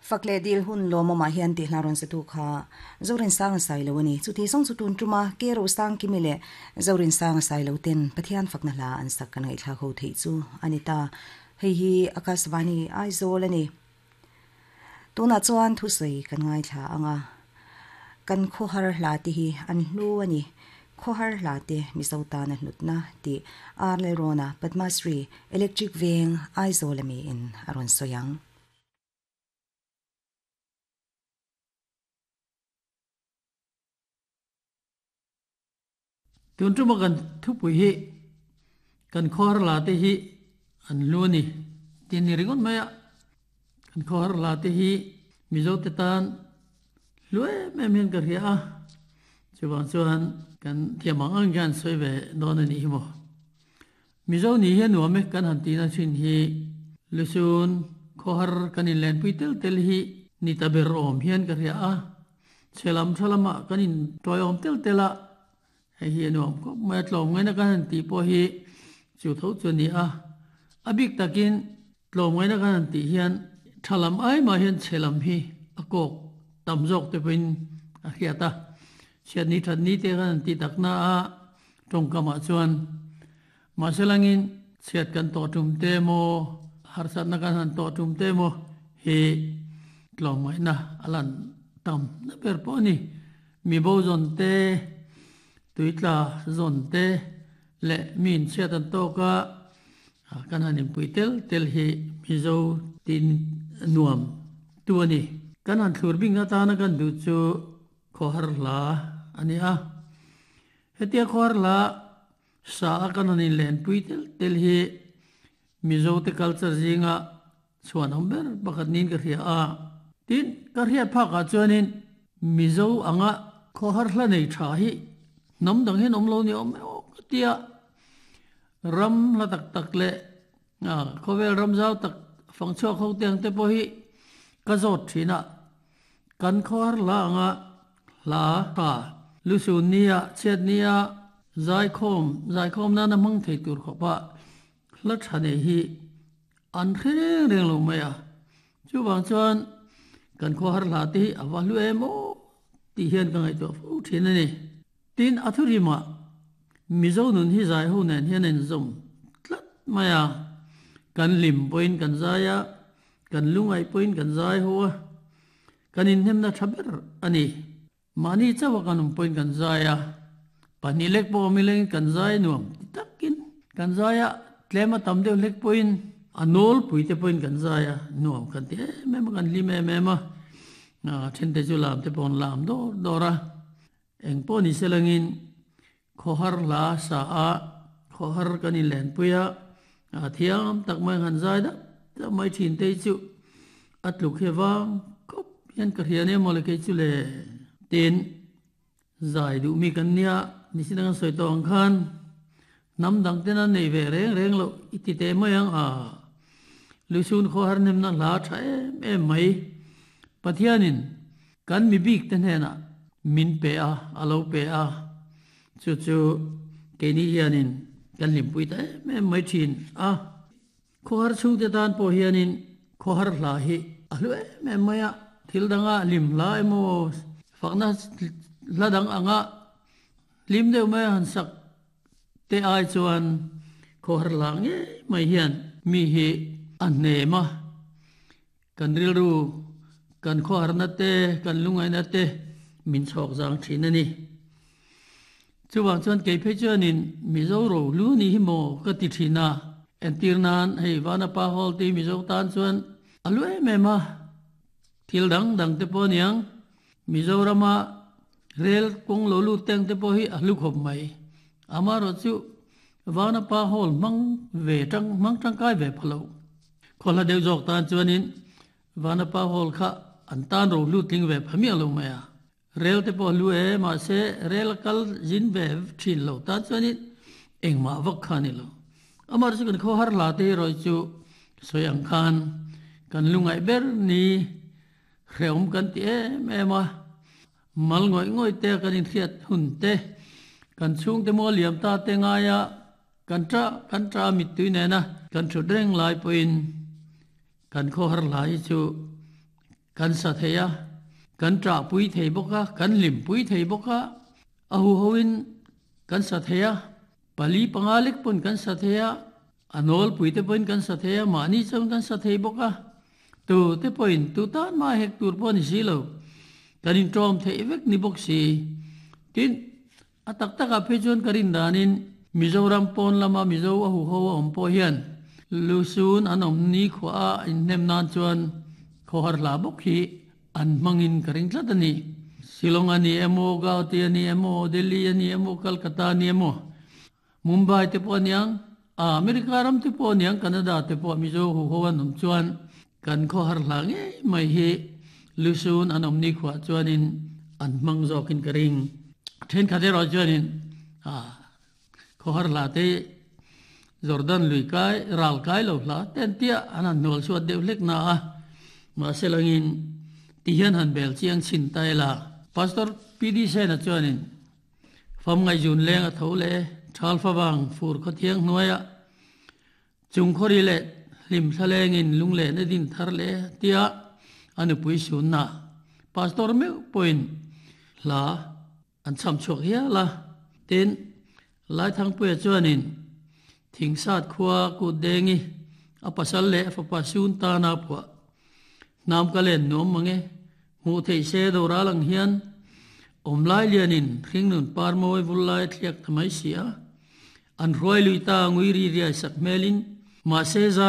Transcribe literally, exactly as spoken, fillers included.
Fakle dil hun lo mama hian ti hlaron se tu kha zorin sang sai lo ani chu ti song chu tun tuma ke ro sang ki mile zorin sang sai lo ten pathian fakna la an sak kan ngai thla kho thei chu anita hei hi akasvani Aizawl ani tuna chuan thu sei kan ngai thla anga kan khohar hla ti hi an hlu ani khohar hla te misota na hnutna ti Arle Rona Padmasri Electric Veng Aizawl ami in aron soyang. Tun tu makan thu pui hi kan khor la te hi an lu ni tin ni ringon maya kan khor la te hi mizo te tan lue me men ka ria chuwang chuan kan thiamang ang gan soi ve don ani hi mo mizo ni hi nuam me kan han ti na chin hi lusun khor kan in len pui tel tel hi ni ta ber om hian ka ria a chelam thalama kan in toy om tel tela hei hi nuam ko mai tlom ngai na kan han ti po hi chu tho chu ni a abik takin tlom ngai na kan han ti hian thalam ai ma hian chelam hi akok tamjok te pin a khiata chiat ni that ni te kan ti takna a tongkama chuan ma selangin chiat kan to tum te mo har sat na kan han to tum te mo hi tlom ngai na alan tam na per po ni mi bo zon te tuitla zon te le min chiat an to ka kan hanin puitel tel hi mizo tin nuam tu ani kan han thlur bing na ta na kan du chu khohar la ani a hetia khohar la sa kan hanin len puitel tel hi mizo te culture zinga chuan amber pakhat nin ka ria a tin ka ria pha ka chuanin mizo anga khohar hla nei tha hi nam dang hen om lo ni om tia ram la tak tak le a khovel ram zau tak fang chho kho teng te po hi ka zot thina kan khor la anga la ta lu su nia chet nia zai khom zai khom na na mang thei tur khopa la thane hi an khreng reng lo maya chu wang chuan kan khor la ti awa lu emo ti hian ka ngai to fu thin ani tin athurima mizo nun hi zai ho nen hian en zum tlat maya kan lim point kan zaya kan lungai point kan zai ho kan in hem na thaber ani mani chawa kanum point kan zaya pani lek po mileng kan zai nuam takin kan zaya tlema tamdeu lek point anol puite point kan zaya nuam kan te me kan lim me ma na then te chu lam te pon lam do dora eng po ni selangin khohar la sa a khohar kan in len puya a thiam tak mai han zai da ta mai thin te chu atluk hewang kop hian ka hian em mole ke chu le tin zai du mi kan nia ni sinang soi tong khan nam dang te na nei ve reng reng lo iti te mayang a lusun khohar nem na la tha em em mai pathianin kan mi bik te hna min pe a alo pe a chu chu ke ni hianin kan lim pui ta em mai thin a khohar chu te tan po hianin khohar hla hi alu em em maya thil danga lim la emo fakna la dang anga lim deuh mai han sak te ai chuan khohar la nge mai hian mi hi an ne ma kan ril ru kan khohar na te kan lungai na te min chok jang thin ani chuwang chuan ke phe chuanin mizo ro lu ni hi mo ka ti thina entir nan hei wana pa hol ti mizo tan chuan alu em em a thil dang dang te po niang mizorama rel kong lo lu teng te po hi alu khop mai amaro chu wana pa hol mang ve tang mang tang kai ve phalo khola deu jok tan chuanin wana pa hol kha an tan ro lu tling ve phami alo maya rel te po lu e ma se rel kal jin ve thin lo ta chuanin engma vak khani lo amar chu kan kho har la te roi chu soyang khan kan lungai ber ni hreum kan ti em em a mal ngoi ngoi te kan in thiat hun te kan chung te mo liam ta te nga ya kan tra kan tra mit tui ne na kan thu reng lai poin kan kho har lai chu Kan sa theia kan tra pui thei boka kan lim pui thei boka a hu hoin kan sa theia pali pangalik pun kan sa theia anol pui te pun kan sa theia mani chang kan sa thei boka tu te point tu tan ma hek tur pon si lo kan in trom thei vek ni bok si tin atak tak a phe chon karin danin Mizoram pon lama Mizo a hu ho om po hian lusun an om ni khwa in nem nan chuan khohar la bok hi an mangin karing tlat ani Shillong ani emo Guwahati ani emo Delhi ani emo Calcutta ani emo Mumbai te po niang America ram te po niang Canada te po Mizo hu ho an om chuan kan khohar la nge mai hi lusun an om ni khwa chuanin an mang zokin karing then khate ro chuanin a khohar la te Jordan lui kai ral kai lo la ten tia anan nol suat deuh lek na a ma selangin tihian han bel chiang chin tai la pastor pd sen a chuanin fam ngai jun leng a tho le thal fa bang fur kho thiang hnuaia chung khori le lim thalengin lung le na din thar le tia anu pui sun na pastor me point la an cham chok hiya la ten lai thang pu chuanin thing sat khua ku dengi a pasal le fa pa sun ta na phwa nam ka len nom mange mu thei se do ra lang hian om lai lianin thing nun par moi vul lai thliak thamai sia an roi lui ta ngui ri ria sak melin ma se za